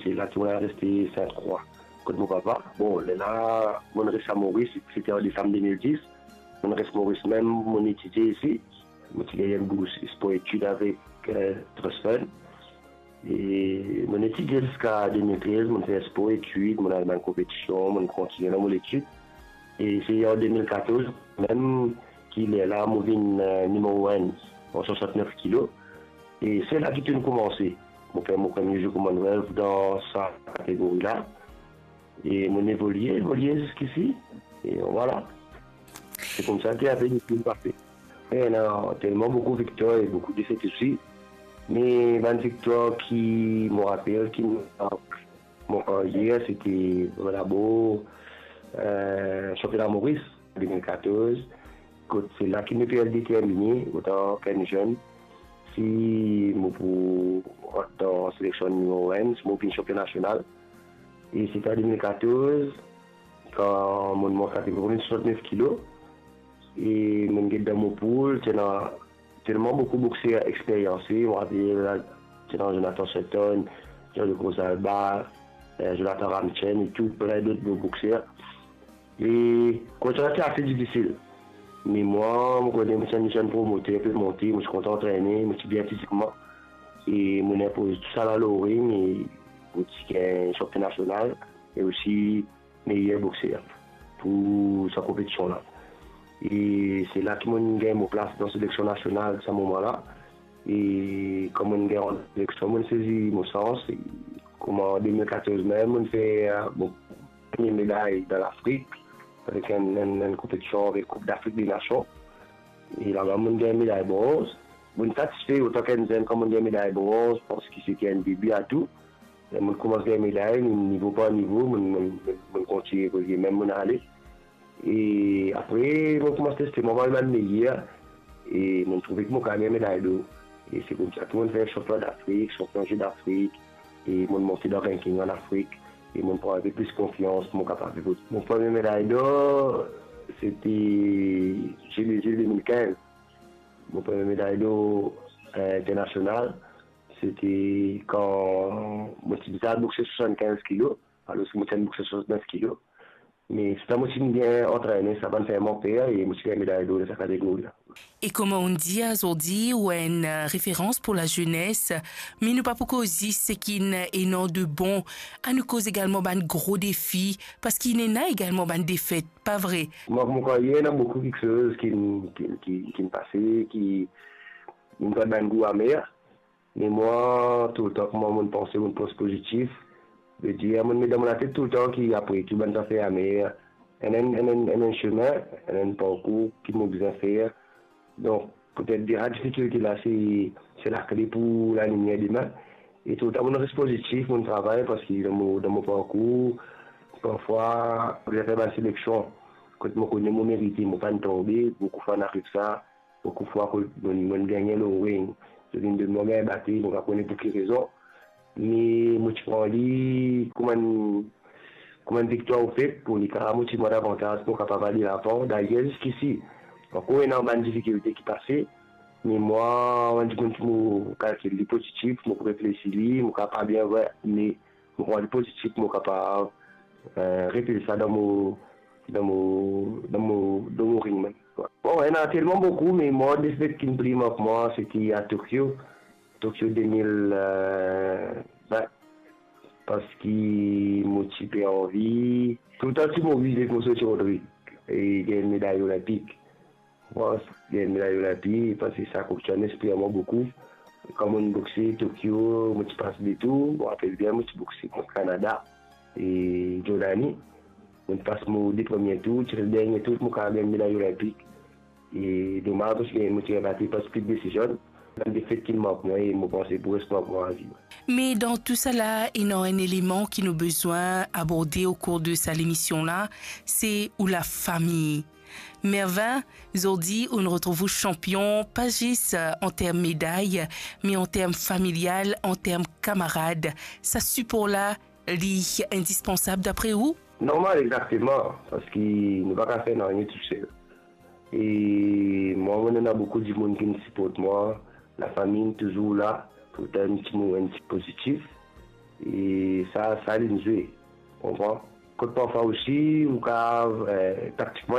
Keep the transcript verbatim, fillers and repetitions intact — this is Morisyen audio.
Se la ki mo al reste Sinte Krwa, kot mo papa. Bon, lerla, mo res a Moris, se te an desam de mil dis. Mo res Moris mem, mo etidie isi. Mo ti gagn enn bours spor etid avek, eh, Trust Fund. E mo etidie ziska de mil trez, mo fer spor etid, mo al dan konpetision, mo kontinie dan mo letid. E se an de mil katorz mem ki lerla mo vinn, eh, nimero enn an swasantnef kilo. E se la ki tou koumanse. Mo fer mo premie zour Commonwealth dan sa kategori la. E mo evolie, evolie ziskisi. E vwala. Se koumsa ki apre nou finn pase. Ena telman boukou viktwar e boukou defet osi. Me bann viktwar ki mo rapel, ki mo, mo karyer, se te dabor, eh, sanpionn Moris de mil katorz, kot se la ki mo ti determine, antan ki enn zenn, si mo pou rant dan seleksion nimero enn, si mo pou vinn sanpion nasional. E se te an de mil katorz, kan mo mont kategori swasantnef kilo, e mo get dan mo poul, ti ena telman boukou boxer experyanse, mo rapel, ti ena Jonathan Shelton, Jean-Luc Rosalba, eh, Jonathan Ramchen e tou, plin dot bo-, boxer. E kontra ti ase difisil. Me mwa, mo kone mo ti enn zenn promoter, pe monte, mo ti kontan antrene, mo ti bien fizikman. E mo inpoz tou sa la lor ring, e mo ti gagn sanpion nasional, e osi meyer boxer pou sa konpetision la. E se la ki mo gagn mo plas dan seleksion nasional sa moman la. E kan mo gagn seleksion, mo sezi mo sans. E kouma an de mil katorz mem, mo fer, eh, mo premie meday dan Lafrik, avek enn, enn, enn konpetision avek Coupe d'Afrique des Nations. E laba mo gagn meday bronz. Mo satisfe antan ki enn zenn kan mo gagn meday bronz, paski se ti enn debi a tou. Mo koumans gagn meday, nivo par nivo, mo, mo, mo, mo kontinie evolie, mem mo ale. E apre, mo koumans teste, mo al bann meyer, e mo trouve ki mo kapav gagn meday dor. E se koumsa ki mo fer sanpion Dafrik, sanpion Zi Dafrik, e mo monte dan ranking an Afrik, e mo pran enpe plis konfians, mo kapav evolye. Mo premie meday dor, se te Zi Brezil de mil kinz. Mo premie meday dor, eh, internasional, se te kan mo ti bizin boxe swasannkinz kilo, alor ki mo ti enn boxer swasantnef kilo. Me sirtou mo ti bien antrene, sa pa'nn fer mwa per, e mo ti gagn meday dor dan sa kategori la. E kouma ou'nn dir azordi, ou enn, eh, referans pou lazenes, me nou pa pou koz zis seki ena de bon, anou koz egalman bann gro defi, paski ena egalman bann defet, pa vre? Mo, mo krwar ena boukou kiksoz ki, ki, ki, ki pase, ki, ki donn bann gou amer. Me mwa, toultan, kouma mo panse, mo pans pozitif. Vedir, mo met dan mo latet toultan ki apre tou bann zafer amer, ena enn, ena enn, ena enn semin, ena enn parkour ki mo bizin fer. Donk, petet deza difikilte la, se, se lakle pou lalimier demin. E toultan, mo res pozitif, mo travay, paski dan mo, dan mo parkour, parfwa, mo bizin fer bann seleksion. Kot mo kone mo merite, mo pa'nn tonbe, boukou fwa inn ariv sa, boukou fwa kot mo, mo gagne lor ring, zot inn donn mwa gagn bate, mo pa kone pou ki rezon. Me mo ti pran li kouma enn, kouma enn viktwar ofet pou li kapav motiv mwa davantaz pou kapav ale lavan. Dayer ziskisi, ankor ena bann difikilte ki pase, me mwa, enn dimoun ki mo kalkil li pozitif, mo pou reflesi li, mo kapav bien vwar, me mo pran li pozitif, mo kapav, eh, reflesi sa dan mo, dan mo, dan mo, dan mo ring mem. Bon, ena telman boukou, me mwa, defet ki pli mark mwa, se ti a Tokyo, Tokyo de mil vin, paski mo ti pe anvi, toultan ti mo vize pou sot Rodrig e gagn meday olinpik. Mwa, gagn meday olinpik, paski sa kouti enn lespri a mwa boukou. Kan mo boxe Tokyo, mo ti pas de tour, mo rapel bien, mo ti boxe kont Kanada e Jordani. Mo pas mo de premie tour, ti res dernie tour, mo kapav gagn meday olinpik. E domaz, paski mo ti gagn bate par split decision. Bann defet ki mark mwa e mo panse pou res mark mwa avi. Me dan tou sala, ena enn eleman ki nou bizin aborde o kour de sa lemision la, se ou lafami. Mervin, zordi ou'nn retrouv ou sanpion, pa zis, eh, an term meday, me an term familial, an term kamarad. Sa sipor la, li indispansab dapre ou? Normal, exakteman, paski nou pa kapav fer nanye tousel. E mwa, mo ena boukou dimoun ki siport mwa, lafami touzour la pou tann ti mo, enn ti pozitif. E sa, sa linn zwe. Konpran? Kot parfwa osi, ou kapav, eh, taktikman, li